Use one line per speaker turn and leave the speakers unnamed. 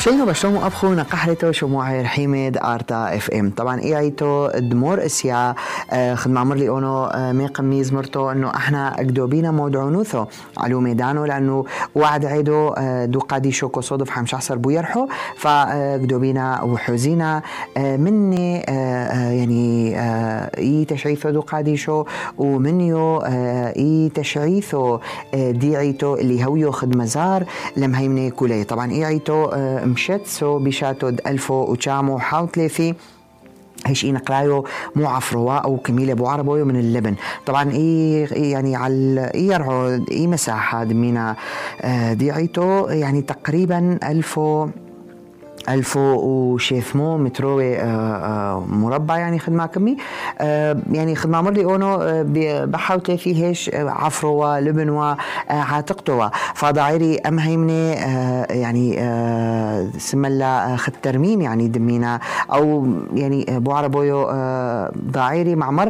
شينو بشومو أبخو نقحرتو شموعي حميد آرتا اف ام. طبعا ايعيتو دمور اسيا خدم عمر لي اونو ميقم ميزمرتو انه احنا اقدوبينا مودعونوثو علو ميدانو لانه وعد عيدو دو قاديشو كو صدف حمش احسر بو يرحو فاقدوبينا وحوزينا مني يعني اي تشعيثو دو قاديشو ومنيو اي تشعيثو ديعيتو اللي هويو خد مزار لمهيمني كولي. طبعا ايعيتو مشت سو بيشاتو ألفو وشامو حاوتليثي هيش نقلايو مو عفروا أو كميلة بو عربويو من اللبن. طبعا يعني على يرعو مساحة دمينا ديعيتو يعني تقريبا ألفو وشيثمو متروي مربع يعني خدمة كمي يعني خدمة مرلي اونو بحاوتي فيه هيش عفروا لبنوا عاتقتوا فضعيري امهيمني يعني سملا خد ترميم يعني دمينا او يعني بو عربويو ضعيري مع مرة